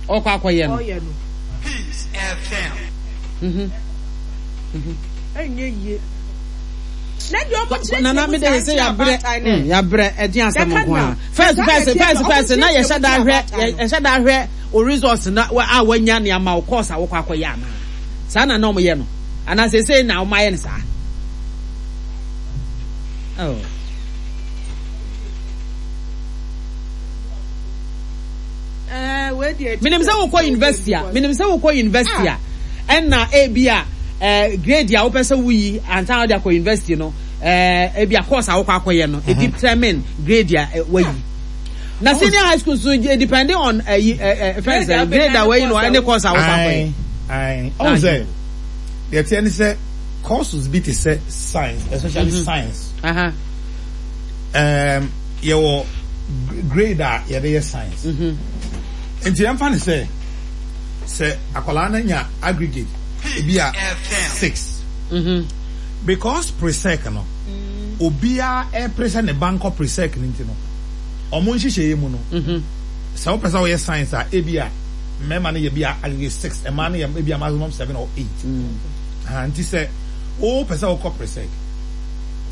Ɔkɔ akɔyɛ no. Ɔyɛ no. Peace FM. Mhm. Mhm. Ɛnyɛ yie. Na deɛ ɔmo kyerɛkyerɛ Nana mu me de saa sɛ kyerɛ yabrɛ abaatan no. yabrɛ ɛde asɛm Yɛka nko na. a. First Saa na first ɛteɛ first sɛ ɔmo first na kyerɛkyerɛ yɛhyɛ mu da kyerɛ hwɛ abaatan no. yɛhyɛ da hwɛ o results na wa a wanya ne ama wo course a wokɔ akɔyɛ anaa. Saa na na ɔmo yɛ no. Anaa seesei na ɔmo ayɛ no saa. Oh. Eh, Menim sɛ wokɔ university a, menim sɛ wokɔ university a, ɛna ebi a eh, grade a wopɛ sɛ woyi ansa na wode akɔ university no, eh, ebi a course a wokɔ akɔyɛ no, mm determine grade a eh, wayi. Na senior high school so eh, depending on eh, eh, eh, friends, eh, grade a wayi no ɛne course a wokɔ akɔyɛ. Ayi, ɔn sɛ deɛ teɛ ne sɛ courses bi te sɛ science, especially mm -hmm. science. Uh -huh. Um, yɛwɔ grade a yɛde yɛ science. Mm -hmm. Nti yɛmfa ne sɛ sɛ akwadaa no nya aggregate ebi a 6. Mm -hmm. Because presec no, mm. obiara ɛpere sɛ ne ba nkɔ presec no nti no, ɔmo nhyehyɛeɛ mu no, mm -hmm. sɛ wopɛ sɛ woyɛ science a ebi a mmarima no yɛ bi a aggregate 6, mmaa no yɛ ebi a maximum 7 or 8. Mm. Ha, nti sɛ wopɛ sɛ wokɔ presec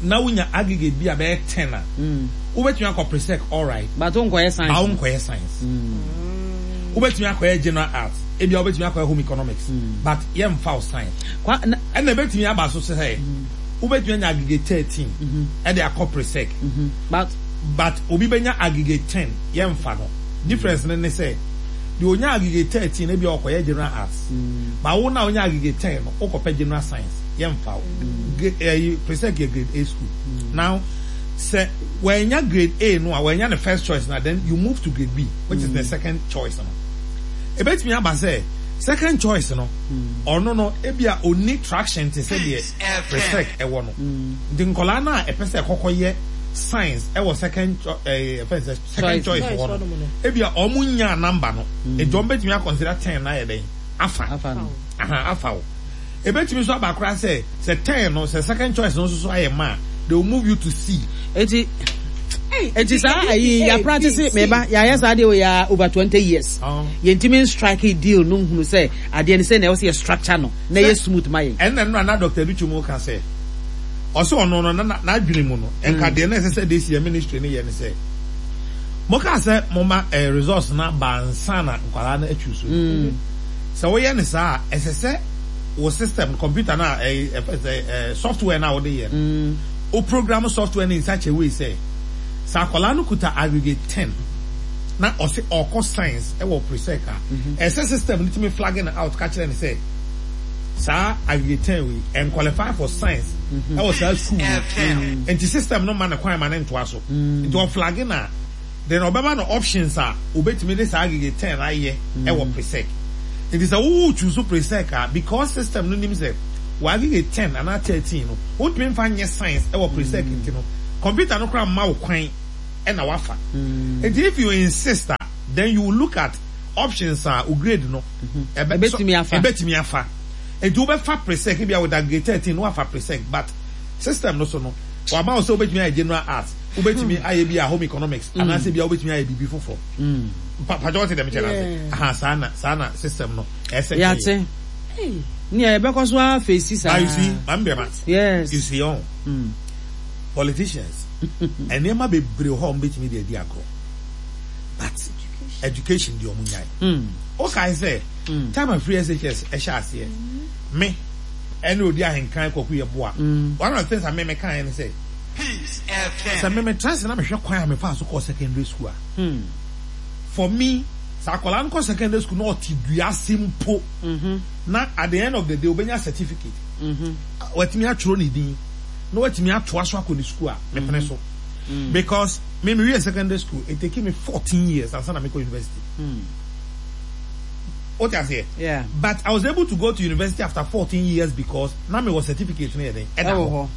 na wonya aggregate bi a bɛyɛ 10 a, wobɛtumi akɔ presec alright. But wonkɔyɛ science. But wonkɔyɛ science. Wobɛtumi akɔyɛ general arts, ebia wobɛtumi akɔyɛ home economics, but yɛmfa wo science. Ɛna ɛbɛtumi aba so sɛ wobɛtumi anya aggregate 13 ɛde akɔ presec. But but obi bɛnya aggregate 10 yɛmfa no. Difference no ne sɛ deɛ onya aggregate 13 ebia ɔkɔyɛ general arts. But wo na onya aggregate 10 no wokɔpɛ general science yɛmfa wo. Ɛyi presec yɛ grade A school. Now sɛ wanya grade A no a wanya ne first choice na then you move to grade B which is the second choice no. Ebetumi aba sɛ second choice no ɔno no ebia onni traction te sɛ deɛ presec ɛwɔ no. Nti nkɔlaa no a ɛpɛ sɛ ɛkɔkɔ yɛ science ɛwɔ second ɛɛ ɛfɛn sɛ second choice hɔ no ebia ɔmo nyaa number no nti ɔmo betumi akɔnsida 10 na ayɛ dɛn afa aha afa wo. Ebetumi nso aba koraa sɛ sɛ 10 no sɛ second choice no nso so ayɛ ma a they will move you to C. Eti eti saa ayi ya practice meba ya yɛ saa deɛ wɔ ya over 20 years. Yɛntumi nstrike deal no nhunu sɛ adeɛ no sɛ na ɛwɔ sɛ yɛ structure no na ɛyɛ smooth ma yɛn. Ɛnna nnora na Doctor Adutwum reka sɛ ɔsɛ ɔno no na n'adwene mu no nka deɛ na ɛsɛ sɛ this year ministry no yɛ ne sɛ mokaa sɛ moma eh, results no aba ansa na nkwadaa no atwi so. Sɛ woyɛ no saa a, ɛsɛ sɛ wo system, computer no a ɛyɛ ɛfɛ sɛ ɛɛ software no a wode yɛ no, wo program software no in such a way sɛ sɛ akwadaa no kuta aggregate 10 na ɔse ɔkɔ science ɛwɔ presec a, ɛsɛ system no tumi flag no out ka kyerɛ no sɛ saa aggregate 10 wei ɛnqualify for science ɛwɔ saa school wei. Nti system no ma no kwan ma no ntoa so. Nti ɔflag no a, Then ɔbɛma no options a obetumi de saa aggregate 10 ayɛ wɔ presec. Nti sɛ wo choose presec a, because system no nim sɛ wo aggregate 10 anaa 13 no, wontumi mfa nyɛ science wɔ presec nti no, computer no koraa mma wo kwan na wafa. Nti if you insist a, then you will look at options a wo grade no ɛbɛtumi afa. Ɛbɛtumi afa. Nti wobɛfa presec, ebia with aggregate 13 no wafa presec, but system no so no, wama wo sɛ wobɛtumi ayɛ general arts. Wobɛtumi ayɛ bi a home economics anaasɛ bi a wobɛtumi ayɛ biribi foforɔ. Mpakyɛ wɔte dɛm kyɛ no ase. Aha saa na saa na system no ɛsɛ kɛyɛ. Yɛate. Nea yɛbɛkɔ so ara fesi saa. But you see, maame bɛma. Yes. You see ɔn. Politicians nneɛma bebree wɔ hɔ a wɔbɛtumi de adi agorɔ but education deɛ wɔn nyae. Wokae sɛ time a free SHS ɛhyɛ aseɛ me ɛne odi ahenkan Kwaku Yeboah one of the things a me mekaeɛ ne sɛ. Sɛ me metra ase na mehwɛ kwan a mefaa so kɔɔ secondary school a, for me, sɛ akwadaa no kɔ secondary school na ɔte dua ase mpo na at the end of the day obenya certificate, watumi atwerɛ ne din na watumi atoa so akɔ ne school a, mepene so. Because me mewie secondary school, it take me 14 years ansa na mekɔ university. Wote aseɛ? Yeah. But I was able to go to university after 14 years because na mewɔ certificate no yɛ dɛn? Ɛda hɔ.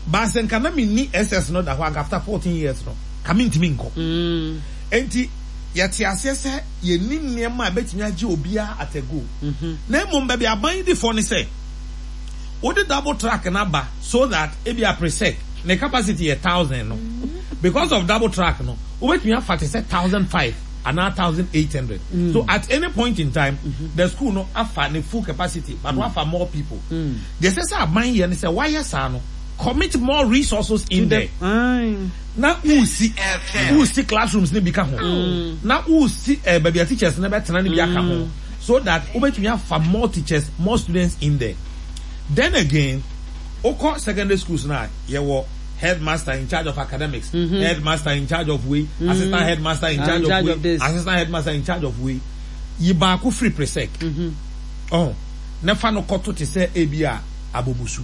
But sɛ nka na menni SS no da hɔ anka after 14 years no, ka mentumi nkɔ. Enti yɛte aseɛ sɛ yɛnni nneɛma a ɛbɛtumi agye obiara at a go. Na mmom baabi aban yi di fɔ ne sɛ, wode double track no aba so that ebia presec ne capacity yɛ 1000 no, because of double track no, wobɛtumi afa te sɛ 1005. anaa 1800. So at any point in time, the school no afa ne full capacity, but wafa more people. Deɛ ɛsɛ sɛ aban yɛ ne sɛ wayɛ saa no, commit more resources in there. Na wosi wosi classrooms no bi ka ho, na wosi eh, baabi a teachers no bɛtena no bi aka ho, so that wobɛtumi afa more teachers, more students in there. Then again, wokɔ secondary schools no a, yɛwɔ headmaster in charge of academics, headmaster in charge of wei, assistant headmaster in charge of wei, assistant headmaster in charge of wei. Yi baako firi presec. Ɔho, na fa no kɔto te sɛ ebi a abomusu.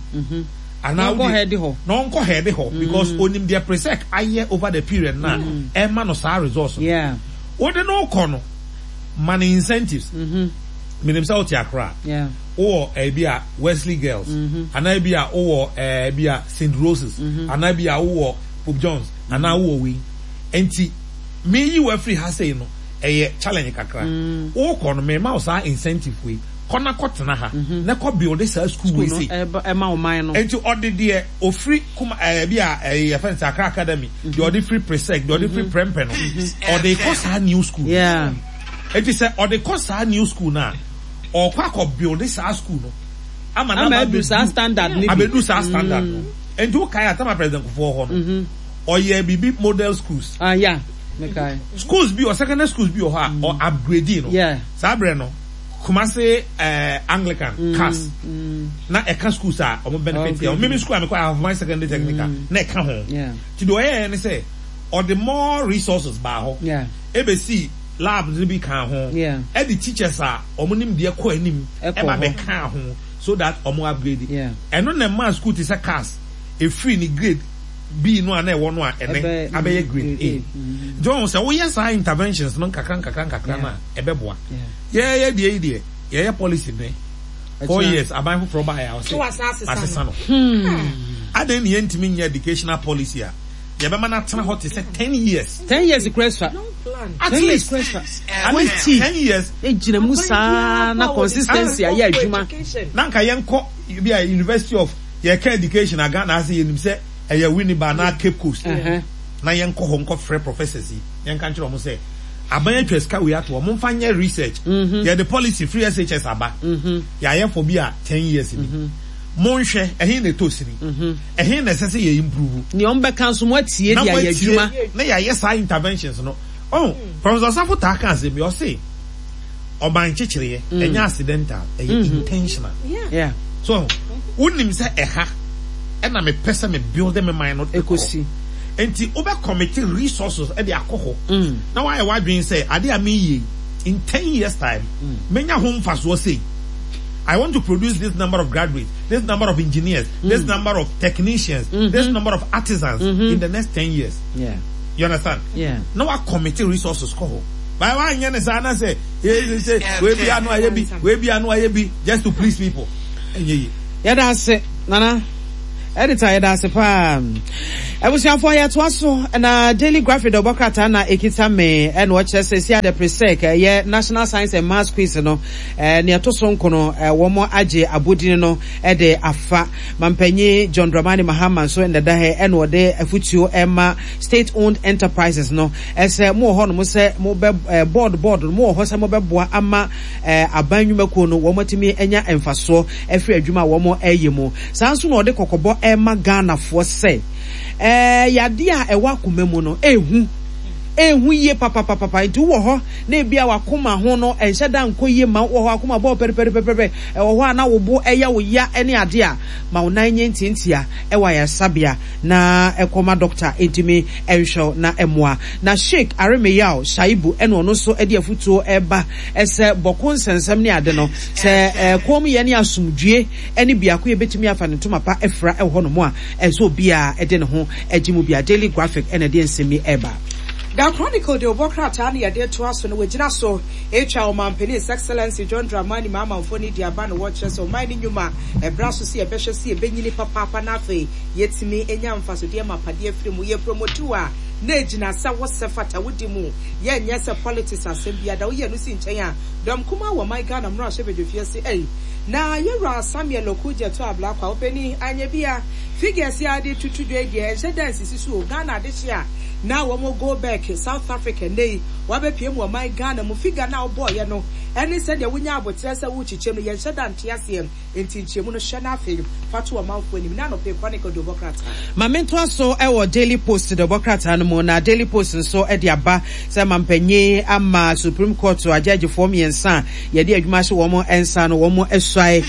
Anaa wode, na ɔnkɔ head hɔ because onim deɛ presec ayɛ over the period no a ɛma no saa results no. Wode no kɔ no, ma no incentives. Menim sɛ wote Accra. Wowɔ ebi a Wesley Girls, anaa ebi a wowɔ ebi a St. Roses, anaa ebi a wowɔ Pope John's, anaa wowɔ wei. Nti, meyi wo afiri ha sei no, ɛyɛ challenge kakra. Wokɔ no, mema wo saa incentive wei. Kɔ na kɔtena ha, na kɔ build saa school wei sei. Nti ɔde deɛ ofiri kuma ɛɛ bi a ɛyɛ yɛfrɛ no sɛ Accra Academy, deɛ ɔde firi Presec, deɛ ɔde firi Prempeh no, ɔde kɔ saa new school no. Nti sɛ ɔde kɔ saa new school no a, ɔkɔ akɔ build saa school no ama no aba abɛduru saa standard no bi. Abɛduru saa standard no. Nti wokae a, tama President Kufuor hɔ no, ɔyɛɛ biribi model schools. Ah, yeah. Mekae. Schools bi wɔ, secondary schools bi wɔ hɔ a, ɔ upgrade no. Yeah. Saa berɛ no, Kumasi eh, Anglican, CAS, na ɛka schools a wɔn benefit yɛ. Mimi school a mekɔ, Ahafo Secondary Technical, na ɛka ho. Nti deɛ ɔyɛɛ ne sɛ, ɔde more resources baa hɔ. Yeah. Ɛbɛsii lab no bi kaa ho. Yeah. Ɛde teachers a wɔn nimdeɛ kɔ anim Ɛkɔ ɛba hɔ. bɛkaa ho so that wɔn upgrade. Yeah. Ɛno na ɛmaa school te sɛ CAS ɛfiri ne grade B no a na ɛwɔ no a ɛnɛ Ɛbɛ- abɛyɛ grade grade A. A. Nti wɔn sɛ woyɛ saa interventions no nkakra nkakra nkakra no a ɛbɛboa. Yeah. Yɛyɛ deɛ yi deɛ yɛyɛ policy nɛ 4 Ɛkyena. years aban foforɔ baeɛ a ɔse Na wasan asesa no. asesa no. Adɛn ne yɛntumi nyɛ educational policy a yɛbɛma no atena hɔ te sɛ 10 years? 10 years kura sua. Long plan. At 10 years least kura sua. at least 10 years. Egyina mu saa na consistency ayɛ adwuma. Na nka yɛnkɔ bi a University of yɛka education a Ghana ase yɛnim sɛ ɛyɛ Winneba anaa Cape Coast. Na yɛnkɔ hɔ nkɔfrɛ professors yi na yɛnka nkyerɛ wɔn sɛ aban atwa sika wei ato hɔ, momfa nyɛ research. Yɛde policy firi SHS aba. Yɛayɛ for bi a 10 years ni. Monhwɛ, ɛhe na ɛtɔ sini? Ɛhe na ɛsɛ sɛ yɛ improve? Nea wɔbɛka nso moatie Na de ayɛ moatie adwuma. na yɛayɛ saa interventions no. Oh, Professor Osafo taa ka asɛm bi, ɔse ɔban nkyekyereɛ ɛnyɛ accidental, ɛyɛ intentional. Yeah. So, wonim sɛ ɛha ɛna mepɛ sɛ me build me man no de kɔ. Ɛkɔsi. Nti wobɛ commit resources de akɔ hɔ na woayɛ w'adwene sɛ ade a meyɛ yi, in 10 years time, menya ho mfasoɔ sei. I want to produce this number of graduates, this number of engineers, this number of technicians, this number of artisans in the next 10 years. Yeah. You understand? Yeah. Na wa commit resources kɔ hɔ. Ba wa nyɛ ne saa na sɛ sɛ wei bi ano ayɛ bi, wei bi ano ayɛ bi just to please people. Ɛnyɛ yie. Yɛda ase Nana. Editor yɛda ase paa. Abusuafoɔ yɛtoa so na Daily Graphic dɔbɔ krataa na ekita me ɛna ɔkyerɛ sɛ si ade presec ɛyɛ National Science and Maths Quiz no nea ɛto so nkono wɔn agye abodin no de afa. Mampanyin John Dramani Mahama nso nnɛda ha ɛna ɔde afutuo ɛma state owned enterprises no sɛ mo wɔ hɔ nom sɛ mo bɛ board board no mo wɔ hɔ sɛ mo bɛboa ama aban nnwumakuo no wɔn atumi anya mfasoɔ afiri adwuma a wɔn ɛyɛ mu. Saa nso na ɔde kɔkɔbɔ ɛma Ghanafoɔ sɛ yadeɛ a ɛwɔ akoma mu no ɛhu ɛhu yie papapapapa nti wowɔ hɔ na ebia wakoma ho no ɛnhyɛ da nkɔ yie ma wɔ hɔ akoma bɔɔ pɛrepɛrepɛrepɛ ɛwɔ hɔ a na wo bo ɛyɛ wo ya ne adeɛ a ma wo nan nyɛ ntiantia ɛwɔ ayaresabea na kɔ ma dɔkta ntumi nhwɛ wo na mmoa. Na Sheik Aremeyao Shaibu ɛna ɔno nso de afutuo reba sɛ bɔko nsɛnsɛm ne ade no, sɛ koomyɛ ne asomdwie ne biakoyɛ bɛtumi afa ne ntoma pa afira wɔ hɔnom a, ɛsɛ sɛ obiara de ne ho gye mu bia. Daily Graphic na ɛde nsɛm yi reba. The Chronicle de obɔ krataa no yɛde retoa so no wɔgyina so retwa Ɔmanpanin His Excellency John Dramani Mahama mfoni de aba na wɔkyerɛ sɛ ɔman no nnwuma ɛbra so sɛ yɛbɛhwɛ sɛ yɛbɛnyini papaapa na afei Yɛtumi nya mfasodeɛ mapa de afiri mu. Yɛ promote a na ɛgyina sɛ wo sɛ fata wo di mu. Yɛ nyɛ sɛ politics asɛm biara da. Wo yi ɛno si nkyɛn a, dɔm kumaa wɔ ɔman Ghana mmarahyɛbadwafie se ei. Na Yɛwura Samuel Okudzeto Ablakwa, ɔpanin, anyɛ bi a, figures yi a wode toto dwa yi deɛ, ɛnhyɛ da nsisi so o. Ghana adehye a na wɔn go back South Africa nnɛ yi, wɔabɛpue mu ɔman Ghana mu. Figure no a wobɔeɛ no ne sɛdeɛ wonyaa aboterɛ sɛ worekyekyɛ mu no, yɛnhyɛ da nte aseɛ. Enti nkyerɛmu no, hyɛ na afei fa to ɔmanfoɔ anim. Nnɛ anɔpa yi, Chronicle de wobɔ krataa. Ma mentoa so wɔ Daily Post de wobɔ krataa no mu, na Daily Post nso de aba sɛ mampanyin ama Supreme Court agyɛɛgyefoɔ mmiɛnsa a yɛde adwuma ahyɛ wɔn nsa no, wɔn asuae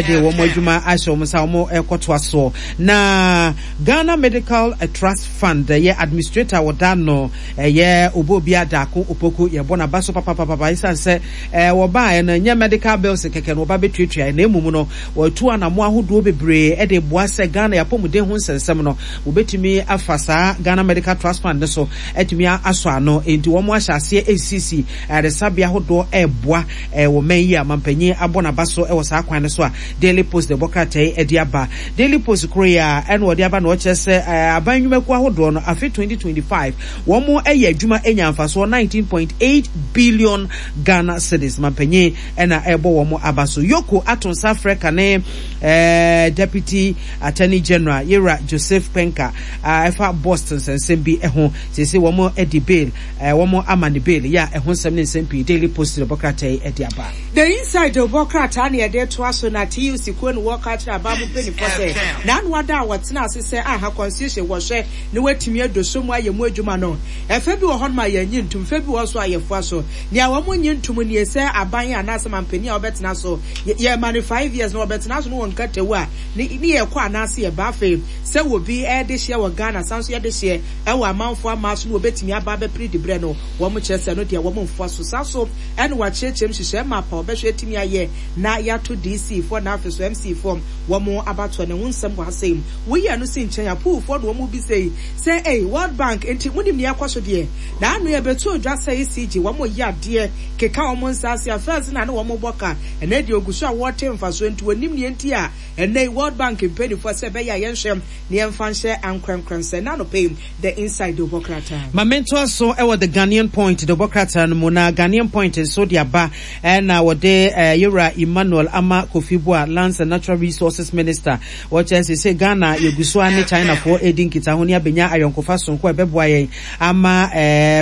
de wɔn adwuma ahyɛ wɔn nsa a wɔrekɔtoa soɔ. Na Ghana Medical Trust Fund yɛ administrator a wɔda ano yɛ Oboobia Darko Opoku, yɛbɔ n'aba so papapapa esiane sɛ wɔbaeɛ no ɛnyɛ medical bills kɛkɛ na wɔba bɛtuatuaeɛ na mmom no wɔatu anamoa ahodoɔ bebree de reboa sɛ Ghana yɛapɔmuden ho nsɛnsɛm no wɔbɛtumi afa saa Ghana Medical Trust Fund no so atumi asɔ ano. Enti wɔn ahyɛ aseɛ resisi ayaresabea ahodoɔ reboa wɔ man yi a mampanyin abɔ n'aba so wɔ saa kwan no so a Daily Post de bɔ krataa yi de aba. Daily Post koro yi ara ɛna wɔde aba na wɔkyerɛ sɛ aban nnwumakuo ahodoɔ no afe 2025 wɔn yɛ adwuma nya mfasoɔ 19.8 billion Ghana cedis. Mampanyin na ɛrebɔ wɔn aba so. Yoko ato nsa afrɛ kane Deputy Attorney General Yewura Joseph Kpenka ɛfa Bost nsɛnsɛm bi ho. Seesei wɔn de bail, wɔn ama no bail yɛ a ɛho nsɛm ne nsɛm pii Daily Post de bɔ krataa yi de aba. The Inside bɔ krataa na yɛde retoa so na TUC kuo no wɔka akyerɛ aban mu mpaninfoɔ sɛ n'ano ada a wɔtena ase sɛ aha constitution wɔhwɛ na wɔatumi adoso mu ayɛ mu adwuma no ɛfɛ bi wɔ hɔnom a yɛnnye ntom fɛ bi wɔ hɔ nso a yɛfoa so. Nea wɔn nnye ntom nie sɛ aban anaasɛ manpanin a ɔbɛtena so yɛma no five years na ɔbɛtena so no wɔ nkatawu a ne ne yɛkɔ anaasɛ yɛba afei sɛ obi ɛdehyeɛ wɔ Ghana san nso yɛdehyeɛ ɛwɔ amanfoɔ amaa so no wɔbɛtumi aba abɛpere dibrɛ no wɔn kyerɛ sɛ ɛno deɛ wɔn mfoa so saa so ɛna wɔakyerɛkyerɛ mu nhyehyɛɛ map a wɔbɛhwɛ atumi ayɛ na yɛato DC foɔ na afei so MC foɔ wɔn abatoɔ no ho nsɛm wɔ ha sei woyi ɛno si nkyɛn a pool foɔ na wɔn bisa yi sɛ ei World Bank nti monim nea ɛkɔ so deɛ na ano yɛbɛto dwa sɛ ECG wɔn yɛ adeɛ keka wɔn nsa ase a first na ne wɔn bɔ ka ɛnɛ deɛ ogu so a wɔte mfasoɔ nti wɔnim nea nti a ɛnɛ yi World Bank mpanimfoɔ sɛ ɛbɛyɛ a yɛnhwɛ na yɛmfa nhyɛ ankorankora nsa ɛna anɔpa yi The Inside de wobɔ krataa. Ma mentoa so wɔ The Ghanaian Point de wobɔ krataa no mu, na Ghanaian Point nso de aba na wɔde Yewura Emmanuel Ama Kofi Buah, Lands and Natural Resources Minister, wɔkyerɛ seesei Ghana yɛgu so ara ne Chinafoɔ redi nkitaho ne abɛnya ayɔnkofa sononko a ɛbɛboa yɛn ama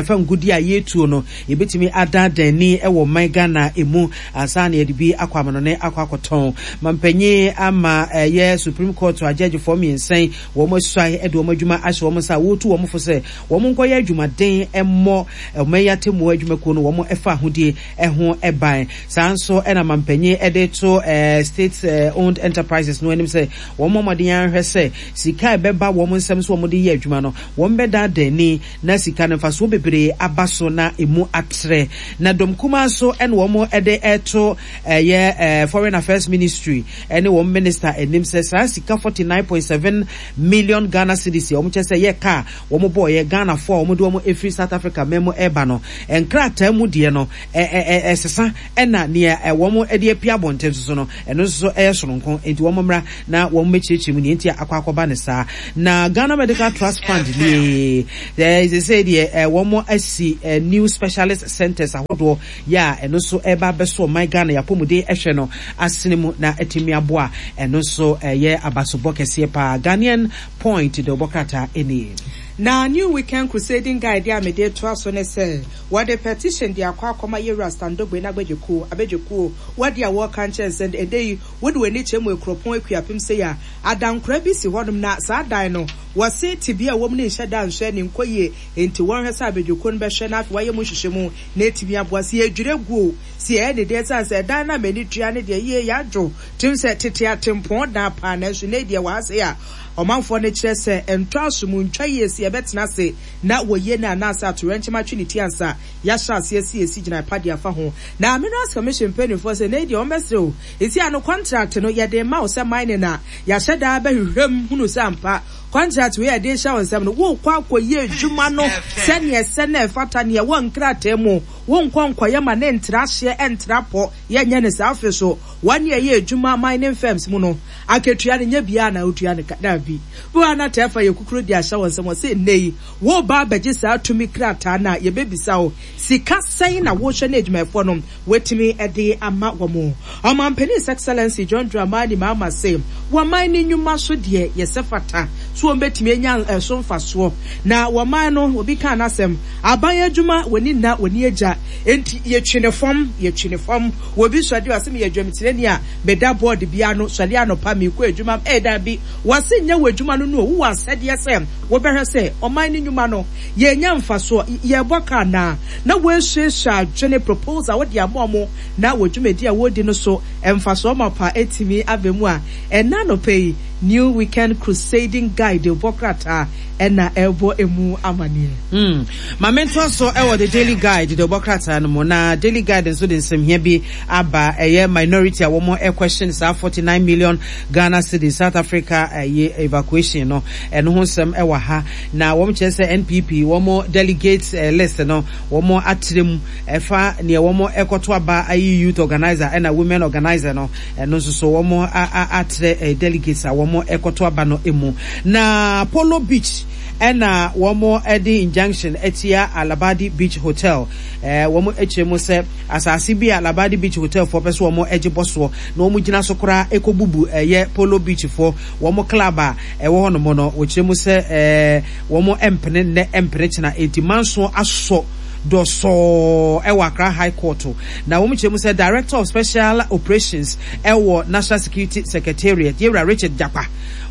fa ngudi a yɛretuo no yɛbɛtumi adaadaa ani wɔ ɔman Ghana mu ansa na yɛde bi akɔ amanɔne akɔ akɔtɔn. Mampanyin ama ɛyɛ Supreme Court agyɛgyefoɔ mmiɛnsa yi wɔn asuae de wɔn adwuma ahyɛ wɔn nsa a wɔretu wɔn fo sɛ wɔn nkɔyɛ adwumaden mmɔ ɔman yi atemmuo adwumakuo no wɔn fa ahodie ho ban. Saa nso na mampanyin de to state owned enterprises no anim sɛ wɔn mmɔ mmɔden ara nhwɛ sɛ sika a ɛbɛba wɔn nsam sɛ wɔde yɛ adwuma no wɔn bɛdaadaa ani na sika no mfasoɔ bebree aba so na emu atrɛ. Na dɔm kumaa nso na wɔn de reto ɛyɛ Foreign Affairs Ministry ne wɔn minister anim sɛ saa sika 49.7 million Ghana cedis a wɔn kyɛ sɛ yɛ ka a wɔn bɔɔyɛ Ghanafoɔ a wɔn de wɔn efiri South Africa man mu ɛreba no nkrataa mu deɛ no ɛsesa ɛna nea wɔn de apue abɔnten nso so no ɛno nso so ɛyɛ soronko nti wɔn mmra na wɔn mmɛkyerɛkyerɛ mu nea nti a akɔ akɔba ne saa. Na Ghana Medical Trust Fund nie sɛ deɛ wɔn asi new specialist centers ahodoɔ yɛ a ɛno nso ɛreba abɛso ɔman Ghana yɛn apɔmuden hwɛ no asene mu na atumi aboa ɛno nso ɛyɛ abasobɔ kɛseɛ paa. Ghanaian Point de wobɔ krataa nie. Na New Weekend Crusading Guide a mede retoa so ne sɛ wɔde petition de akɔ akɔma Yewura Standogbe n'agbadwakuo, abadwakuo, wɔ adeɛ a wɔreka nkyerɛ no sɛ ɛnnɛ yi wode w'ani kyerɛ mu Akuropɔn Akuapem sei a, adankora bi si hɔnom na saa dan no wɔse tebea a ɛwɔ mu no nhyɛ da nsɔ ani nkɔ yie enti wɔnhwɛ sɛ abadwakuo no bɛhwɛ na afei wɔayɛ mu nhwehwɛmu na atumi aboa. Sɛ yɛdwiri agu o, sɛ yɛyɛ ne dɛn, ɛsiane sɛ ɛdan no a m'ani tua no deɛ, yie, yɛadwo tirim sɛ tete atempɔn dan paa, nanso nnɛ yi deɛ wɔ ha sei a, ɔmanfoɔ no kyerɛ sɛ ɛntɔ asom, ntwa yie sɛ yɛbɛtena ase na wɔyie no anaasɛ atoyerɛnkyɛm atwe ne ti ansa yɛahyɛ aseɛ sɛ yɛsi gyinae pa de afa ho. Na Minerals Commission mpanimfoɔ sɛ nnɛ yi deɛ wɔbɛsrɛ o, ɛsi ano kɔntrate no yɛde rema wo sɛ mining a yɛahyɛ da abɛhwehwɛ mu hunu sɛ ampa Kɔntrat wei a yɛde rehyɛ wo nsam no, worekɔ akɔyɛ adwuma no sɛnea ɛsɛ na ɛfata, nea ɛwɔ nkrataa mu. Wonkɔ nkɔyɛ ma no ntra hyeɛ, ntra pɔ. Yɛnyɛ no saa. Afei nso, Wɔn a ɛyɛ adwuma mining firms mu no, akatua no nyɛ biara na wotua no ka. Dabi. Bi wɔ hɔ a na tɛɛfa yɛ kukuru de ahyɛ wɔn nsam. Wɔse nnɛ yi, woreba abɛgye saa tumi krataa no a, yɛbɛbisa wo, sika sɛn na wohwɛ na adwumayɛfoɔ no wɔatumi de ama wɔn? Ɔmanpanin His Excellency John Dramani Mahama se, wɔman no nnwuma so deɛ, yɛsɛ fata so wɔbɛtumi anya ɛso mfasoɔ. Na wɔman no, obi kaa n'asɛm, aban adwuma, wɔni nna, wɔni agya, enti yɛtwi no fam, yɛtwi no fam. Obi sɔre a ɔse meyɛ dwamtirani a meda board bi ano, sɔre anɔpa mekɔ adwuma, ee daabi, wɔse nyɛ w'adwuma no no o, wowɔ asɛdeɛ sɛ wobɛhwɛ sɛ ɔman no nnwuma no yɛnya mfasoɔ, yɛbɔ ka anaa, na woasuasua adwene, proposal, wode ama wɔn na wɔ dwumadi a wɔredi no so mfasoɔ mapa atumi aba mu a, ɛnnɛ anɔpa yi New Weekend Crusading Guide bɔ krataa na ɛrebɔ emu amaneɛ. Hmm. Ma mentoa so wɔ The Daily Guide de ɔbɔ krataa no mu. Na Daily Guide nso de nsɛmhia bi aba. Ɛyɛ minority a wɔn question saa 49 million Ghana cedis South Africa ɛyɛ evacuation no. Ɛno ho nsɛm ɛwɔ ha. Na wɔn kyerɛ sɛ NPP wɔn delegates list no wɔn atrɛ mu ɛfa neɛ wɔn ɛkɔto aba ayi youth organizer ɛna women organizer no. Ɛno nso so wɔn atrɛ delegates a wɔn ɛkɔto aba no mu. Na Polo Beach ɛna wɔn de injunction atia Labadi Beach Hotel. Wɔn kyerɛ mu sɛ asase bi a Labadi Beach Hotel foɔ pɛ sɛ wɔn gye bɔ soɔ na wɔn gyina so koraa ɛkɔ bubu ɛyɛ Polo Beach foɔ wɔn club a ɛwɔ hɔ nom no. Wɔkyerɛ mu sɛ wɔn mpene nnɛ mpene kyena enti manso asɔ dɔsɔɔ ɛwɔ Accra High Court. Na wɔn kyerɛ mu sɛ Director of Special Operations ɛwɔ National Security Secretariat Yewura Richard Jakpa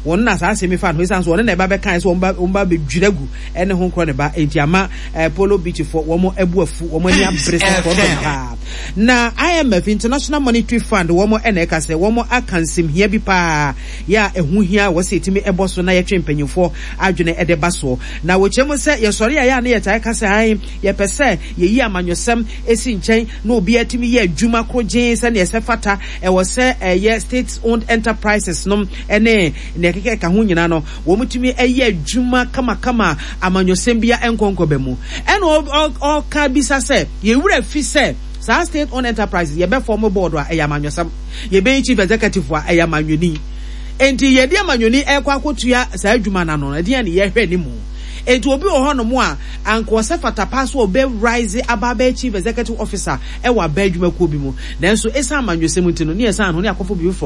wɔn na saa asɛm yi fa no ho esiane sɛ wɔn na ɛba bɛkae sɛ wɔn ba wɔn ba bɛdwira gu ɛne ho nkorɔ ne ba enti ama eh, Polo Beach fo wɔn abu afu wɔn ani abere sɛ korɔdɔm paa. Na IMF, International Monetary Fund, wɔn na ɛka sɛ wɔn aka nsɛmhia bi paa yɛ a ɛho hia wɔ sɛ yɛtumi ɛbɔ so na yɛtwe mpanyinfoɔ adwene ɛde ba soɔ. Na wɔkyerɛ mu sɛ yɛsɔre a yɛ a na yɛtaa ka sɛ ae yɛpɛ sɛ yɛyi amanyɔsɛm si nkyɛn na obiara tumi yɛ adwuma korogyenn sɛnea ɛsɛ fata. Ɛwɔ sɛ ɛyɛ state owned enterprises nom ne nea ɛkeka ɛka ho nyinaa no, wɔtumi yɛ adwuma kamakama a amanyɔsɛm biara nkɔ nkɔba mu. Ɛna ɔka bisa sɛ, yɛn werɛ fi sɛ saa state owned enterprises yɛbɛ form board a ɛyɛ amanyɔsɛm, yɛbɛyi chief executive a ɛyɛ amanyɔni. Enti yɛde amanyɔni ɛrekɔ akɔtua saa adwuma no ano no, ɛdeɛn na yɛhwɛ anim? Enti obi wɔ hɔnom a anka ɔsɛ fata paa sɛ ɔbɛ rise aba abɛyɛ chief executive officer wɔ aba adwumakuo bi mu. Nanso esiane amanyɔsɛm nti no, ne yɛsan ho ne akɔfo biribi foforɔ.